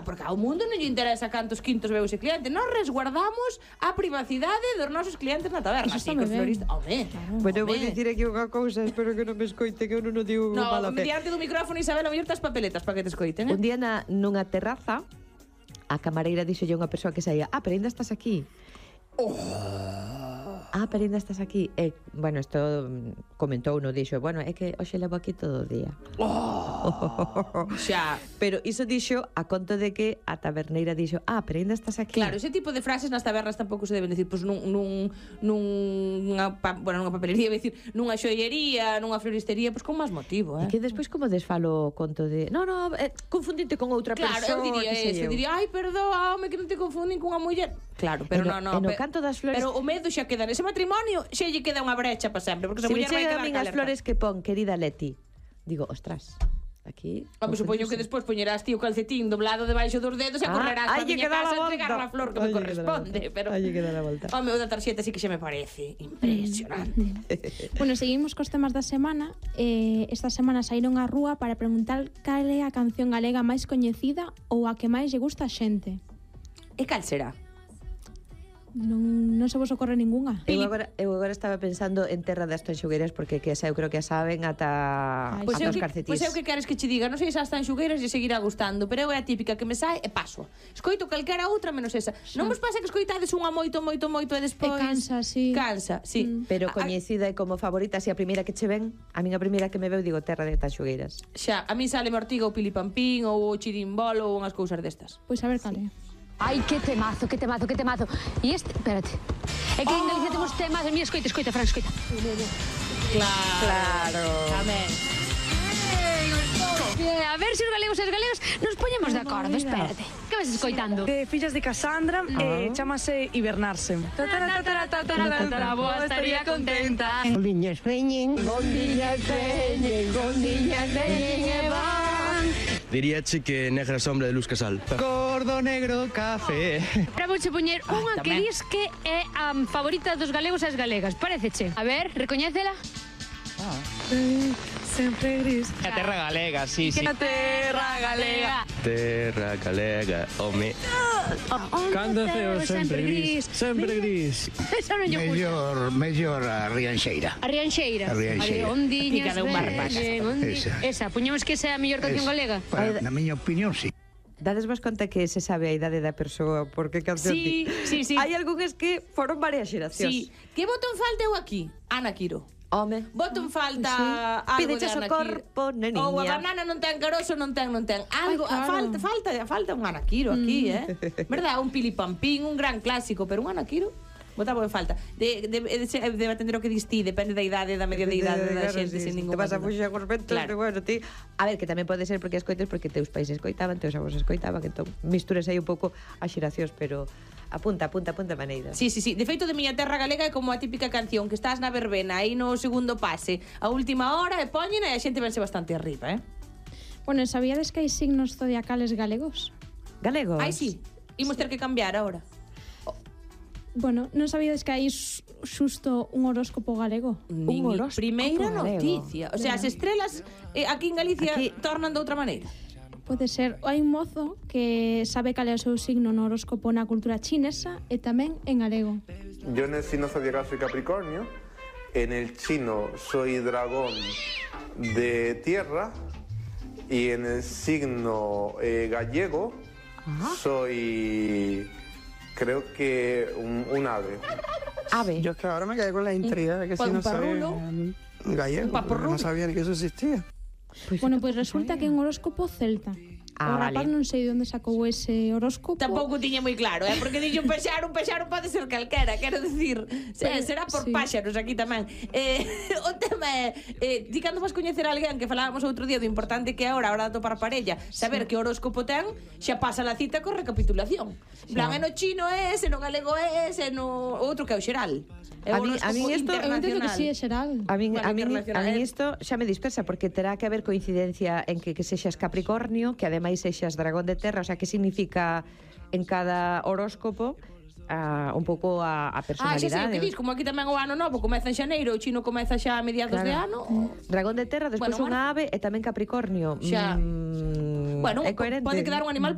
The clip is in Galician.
porque ao mundo non lle interesa cantos quintos veu ese cliente. Nós resguardamos a privacidade dos nosos clientes na taberna. Así que os floristas... Bueno, vou dicir aquí unha cousa, espero que non me escoite, que eu non o digo mala fe. Diante do micrófono, Isabel, a mellor tas papeletas para que te escoiten, Un día nunha terraza, a camareira dixolle a unha persoa que saía: pero ainda estás aquí. Pero ainda estás aquí. Bueno, isto comentou, non dixo, bueno, é que hoxe levo aquí todo o día. Xa. Pero iso dixo a conto de que a taberneira dixo: pero ainda estás aquí. Claro, ese tipo de frases nas tabernas tampouco se deben decir, pois nunha papelería, decir, nunha xoiería, nunha floristería, pois con máis motivo, E que despois como desfalo o conto de confundinte con outra persoa. Claro, eu diría, ai, perdoa, home, que non te confundin cunha muller. Claro, pero non. E no canto das flores... Pero o medo xa queda nese matrimonio, xa lle queda unha brecha para sempre, porque esa muller vai quedar calerta. Se me chegan as flores que pon, querida Leti, digo, ostras, aquí... supoño que despois poñerás ti o calcetín doblado debaixo dos dedos e correrás para a miña casa a entregar a flor que me corresponde. Aí lle queda a volta. O meu da tarxeta sí que xa me parece impresionante. Bueno, seguimos cos temas da semana. Esta semana saíron á rúa para preguntar cal é a canción galega máis coñecida ou a que máis lle gusta a xente. E cal será? Non se vos ocorre ningunha. Eu agora estaba pensando en Terra das Tanxugueiras, porque que esa eu creo que a saben ata os calcetís. Pois eu que queres que che diga, non sei se as Tanxugueiras lle seguirá gustando, pero eu é a típica que me sae e paso. Escoito calquera outra menos esa. Non vos pasa que escoitades unha moito e despois... cansa, sí. Cansa, sí. Pero coñecida e como favorita, se a primeira que che ven, a minha primeira que me veu, digo, Terra de Tanxugueiras. Xa, a mí sale Ortiga ou Pilipampín ou o Chirimbolo ou unhas cousas destas. Pois a ver cal é. Ai, que temazo. E este, espérate. É que en Galicia temos temas, mira, escoita, Fran, escoita. Claro. Amén. A ver se os galegos e os galegos nos poñemos de acordo, espérate. Que vas escoitando? De Fillas de Casandra, chamase Hibernarse. Boa, estaría contenta. Gondiñas veñen e van. Diríache que Negra Sombra de Luz Casal. Gordo negro café. Para vouche poñer unha que dis que é a favorita dos galegos e as galegas. Paréceche? A ver, recoñécela? Sempre gris. A terra galega, sí. A terra galega. Terra galega, home. Cando ceo sempre gris. Sempre gris. Esa non lle gusta. Mellor a Rianxeira. A Rianxeira. Ondiñas veñen. Esa, poñemos que esa é a mellor canción galega. Na miña opinión, sí. Dades vos conta que se sabe a idade da persoa porque canción Sí. Hai algúns que foron varias xeracións. Sí. Que botón falta eu aquí? Ana Quiro. Home. Botón falta algo Pídeche de o Ana corpo, Quiro. neniña. Ou a banana non ten carozo, non ten. Algo, Ai, claro. falta un Ana Quiro aquí, Verdad, un Pilipampín, un gran clásico, pero un Ana Quiro botaba en falta. Debe atender o que dis ti, depende da idade, da media de idade da xente, sin ningún. Te vas a fuxar cos ventos, Claro. bueno, ti. A ver, que tamén pode ser porque escoites, porque teus pais escoitaban, teus avós escoitaban, entón mistures aí un pouco as xeracións, pero apunta maneira. Sí. De feito, de miña terra galega é como a típica canción que estás na verbena aí no segundo pase, a última hora e poñen e a xente vense bastante arriba, Bueno, sabíades que hai signos zodiacales galegos? Galegos? Ai, sí. Imos ter que cambiar agora. Bueno, non sabíades que hai xusto un horóscopo galego? Un horóscopo primeira galego. noticia. O sea, as estrelas aquí en Galicia tornan de outra maneira. Pode ser. Hai un mozo que sabe cal é o seu signo no horóscopo na cultura chinesa e tamén en galego. Yo en el signo zodiacal soy Capricornio, en el chino soy dragón de tierra y en el signo gallego soy, creo que un ave. Ave. Yo es que ahora me quedé con la intriga de que si no soy gallego, porque no sabía ni que eso existía. Bueno, pois resulta que é un horóscopo celta. O rapaz non sei de onde sacou ese horóscopo. Tampouco tiña moi claro, porque dixo un peixaro pode ser calquera, quero dicir, será por páxaros aquí tamén. O tema é, di cando vas coñecer a alguén, que falábamos outro día do importante que é a hora de topar parella, saber que horóscopo ten, xa pasa a cita con recapitulación. En plan, no chino é ese, no galego é ese, no outro que é o xeral. A mí isto, eu entendo que sí é xeral. A mí isto xa me dispersa, porque terá que haber coincidencia en que sexas Capricornio, que ademais sexas dragón de terra, o sea, que significa en cada horóscopo. un pouco a personalidade. Xa sei o que dis, como aquí tamén o ano novo comeza en xaneiro, o chino comeza xa a mediados de ano. Dragón de terra, despois unha ave e tamén Capricornio. Xa. Bueno, é coherente. pode quedar un animal